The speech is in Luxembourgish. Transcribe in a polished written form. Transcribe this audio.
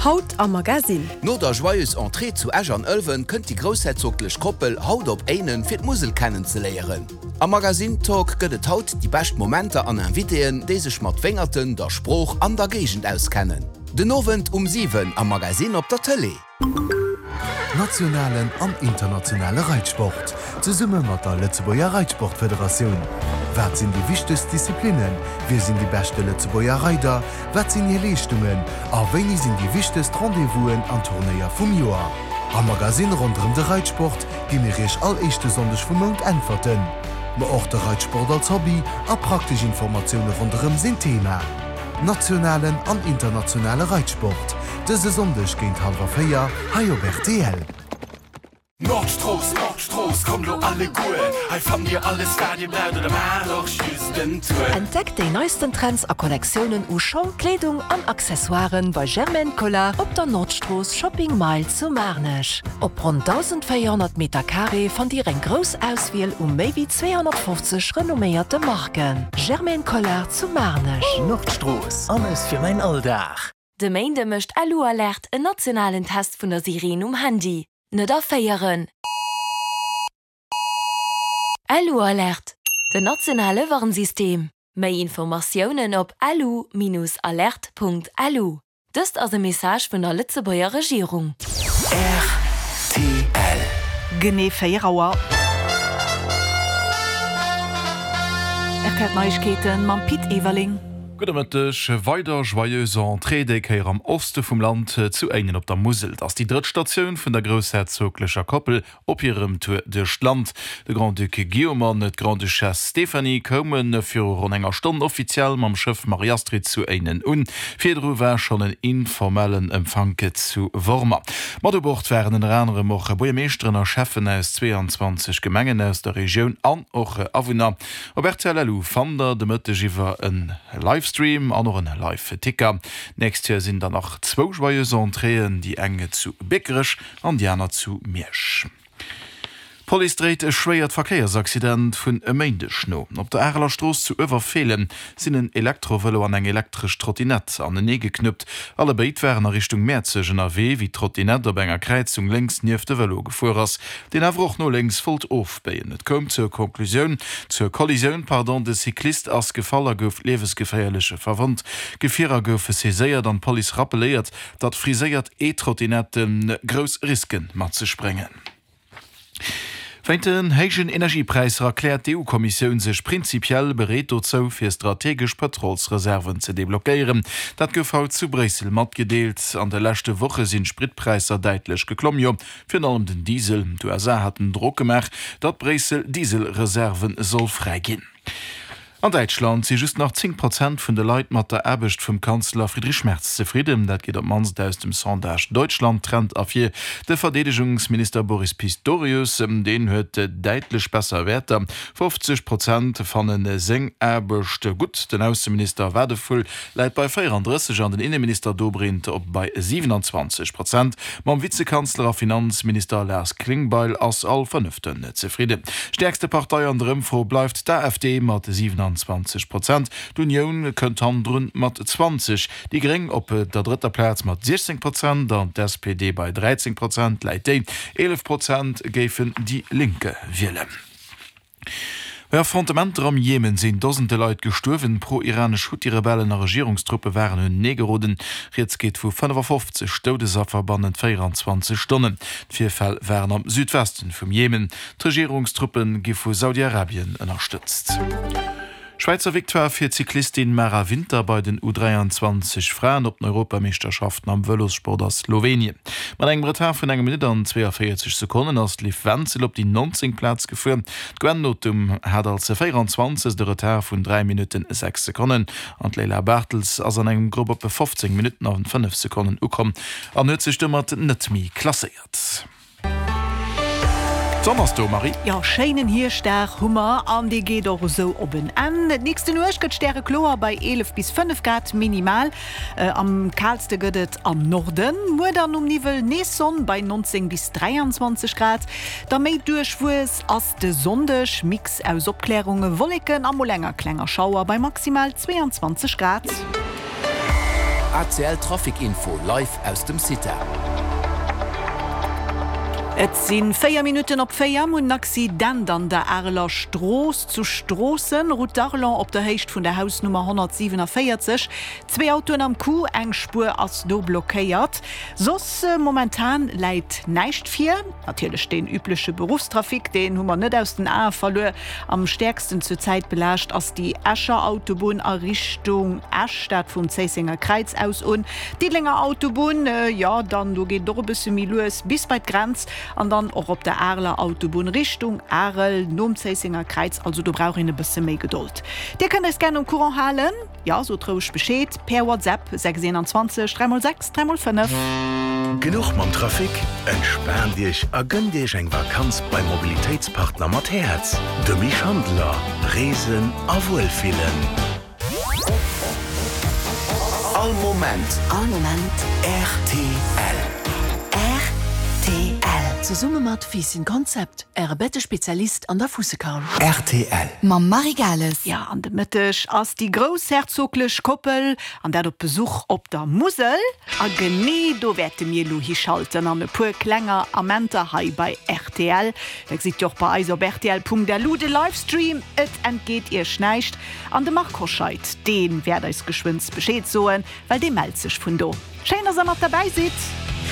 Haut am Magasinn. No der Joyeuse Entrée zu Esch an Ëlwen kënnt déi groussherzoglech Koppel haut op Éinen fir d'Musel kennenzeléieren. Am Magazine Talk gëtt et haut déi bescht Momenter an Invitéen, déi sech mat Wéngerten, der Sprooch an der Géigend auskennen. Den Owend um 7 am Magazine op der Tëlee. Nationalen an internationale Reitsport, zesumme mat der Lëtzebuerger Reitsportfederatioun. Wat sinn déi wichtegst Disziplinnen? Wie sinn déi beschte Lëtzebuerger Reider? Wat sinn hir Leeschtungen? A wéini sinn déi wichtegst Rendez-vousen an Turnéier vum Joer? Am Magasinn ronderëm de Reitsport gi mir Iech all éischte Sonndeg vum Mount Äntwerten. Ma och de Reitsport als Hobby a praktesch Informatioune ronderëm sinn Thema. Nationalen an internationale Reitsport, dëse Sonndeg géint hallwer 4 hei op rtl. Nordstrooss, Nordstrooss, kommt lo alleguer, hei fannt dir alles wat dir braucht oder maacht och just en Tour. Entdeckt déi neisten Trends a Kollektiounen u Schong, Kleedung an Accessoiren bei Germaine Collard op der Nordstrooss Shopping Mile zu Maarnech. Op ronn 1.400 Meter Carré fannt Dir eng grouss Auswiel u méi wéi 250 renomméierte Marken. Germaine Collard zu Maarnech. Nordstrooss, alles fir mäin Alldag. De Méinde mécht LU-Alert en nationalen Test vun der Sireen um Handy. Net erféieren! LU-Alert, den nationale Warnsystem. Méi Informatiounen op lu-alert.lu. Dëst ass e Message vun der Lëtzebuerger Regierung. Rtl. Genee 4 Auer. Rtl Neiegkeeten mam Pit Everling. Gudde Mëtteg. Weider Joyeuse Entrée, déi Kéier am Oste vum Land, zu Éinen op der Musel. Et ass déi drëtt Statioun vun der groussherzoglecher Koppel Op hirem Tour duerch d'Land. De Grand-Duc Guillaume an d'Grande-Duchesse Stéphanie koume viru ronn enger Stonn offiziell mam Schëff Marie-Astrid zu Éinen un. Virdru war schonn en informellen Empfank zu Wormer. Mat u Bord waren ënner anerem och Buergermeeschteren a Schäffen aus 22 Gemengen aus der Regioun an och Awunner. Op rtl LU fannt der de Mëtteg iwwer e Livestream an och en Live-Ticker. D'nächst Joer sinn dann nach zwou Joyeuse Entréeën, déi eng zu Biekerech an déi aner zu Miersch. D'Police dréit e schwéiert Verkéiersaccident vun e Méindeg no. Op der Areler Strooss zu Uewerfeelen sinn en Elektrovëlo an eng elektresch Trottinett anenee geknuppt. Allebéid waren a Richtung Mäerzeg ënnerwee, wéi d'Trottinett op enger Kräizung lénks nieft de Vëlo gefuer ass, deen awer och no lénks wollt ofbéien. Et koum zur Konklusioun, zur Kollisioun, pardon, de Cyclist ass gefall a gouf liewesgeféierlech verwonnt. Gefierer goufe saiséiert an d'Police rappeléiert, datt friséiert E-Trottinetten grouss Riske mat sech bréngen. Wéint den héijen Energiepräisser erkläert d'EU-Kommissioun sech prinzipiell bereet dozou, fir strategesch Pëtrolsreserven ze deblockéieren. Dat gouf haut zu Bréissel matgedeelt. An de leschte Woche sinn d'Spritpräisser däitlech geklomm, jo virun allem den Diesel. D'USA haten Drock gemaach, datt Bréissel Dieselreserve soll fräiginn. An Däitschland si just nach 10 Prozent vun de Leit mat der Aarbecht vum Kanzler Friedrich Merz zefridden. Dat geet op d'mannst aus dem Sondage Deutschland-Trend ervir. De Verdeedegungsminister Boris Pistorius, deen huet däitlech besser Wäerter, 50 Prozent fanne seng Aarbecht gutt. Den Ausseminister Wadephul läit bei 34 an den Inneminister Dobrindt op bei 27 Prozent. Mam Vizekanzler a Finanzminister Lars Klingbeil ass all Fënneften zefridden. Stäerkste Partei an der Ëmfro bleift d'AfD mat 27 Prozent. D'Unioun kënnt hannendrun mat 20, déi Gréng op der drëtter Plaz mat 16 Prozent an d'SPD bei 13 Prozent läit déi. 11 Prozent géifen déi Linke wielen. Bei Affrontementer am Jemen sinn Dosende Leit gestuerwen. Pro-iranesch Huthi-Rebellen a Regierungstruppe waren unenee geroden. Rieds geet vu 55 Doudesaffer bannent 24 Stonnen. D'Virfäll waren am Südwesten vum Jemen. D'Regierungstruppe gi vu Saudi-Arabien ënnerstëtzt. Schwäizer Victoire fir d'Cyclistin Mara Winter bei den U 23 Fraen op den Europameeschterschaften am Vëlossport a Slowenien. Mat engem Retard vun enger Minutt an 42 Sekonnen ass d'Liv Wenzel op déi 19. Plaz gefuer. D'Gwen Nothum hat als 24. e Retard vun 3 Minutten 6 Sekonnen an d'Leyla Bartels ass an engem Grupp op 15 Minutten a 5 Sekonnen ukomm an huet sech domat net méi klasséiert. D'Sonn ass do, Marie. Jo, schéinen Hierschtdag hu mer an dee geet och esou op en Enn. D'nächste Nuecht gëtt stärekloer bei 11 bis 5 Grad minimal. Am kaalste gëtt et am Norden. Muer dann um Niwwel nees Sonn bei 19 bis 23 Grad. Da méi duerchwuess ass de Sonndeg, Mix aus Opklärunge, Wolleken a mol enger klenger Schauer bei maximal 22 Grad. ACL Trafic Info live aus dem CITA. Et si 4 Minutten op 4. Mir hunn en Accident an der Areler Strooss zu Stroossen, Route d'Arlon, op der Héicht vun der Hausnummer 147. Zwee Autoen am Coup, eng Spuer ass do blockéiert. Soss momentan läit näischt vir. Natierlech deen übleche Beruffstrafic, deen hu mer net aus den Ae verluer. Am stäerksten zur Zäit belaascht ass déi Escher Autobunn a Richtung Esch, dat vum Zéissenger Kräiz aus un. D'Diddelenger Autobunn, jo dann do geet et och e bësse méi lues bis bei d'Grenz an dann och op der Areler Autobunn Richtung Arel nom Zéissenger Kräiz. Also do brauch een e bësse méi Gedold. Dir kënnt eis gär um Courant halen. Jo, sot roueg Bescheed per WhatsApp 6 21 3 x 6 3 x 5. Genuch mam Trafic? Entspaant Iech a gënnt Iech eng Vakanz beim Mobilitéitspartner mat Häerz, dem Misch Handeler. Reesen a Wuelfillen. All Moment. All Moment. Rtl. Rtl. Zesumme mat Fiisschen Concept, Äre Bettespezialist an der Fuussekaul. Rtl. Mam Marie Gales. Jo, an de Mëtteg ass déi groussherzoglech Koppel, an dat op Besuch op der Musel. A genee do wäerte mir elo hischalten an e puer klenger Amenter hei bei rtl. Da gesitt Dir och bei eis op rtl.lu de Livestream, et entgeet Iech näischt. An de Marc Hoscheid, dee wäert eis geschwënns Bescheed soen, well dee mellt sech vun do. Schéin, dass Der mat derbäi sidd.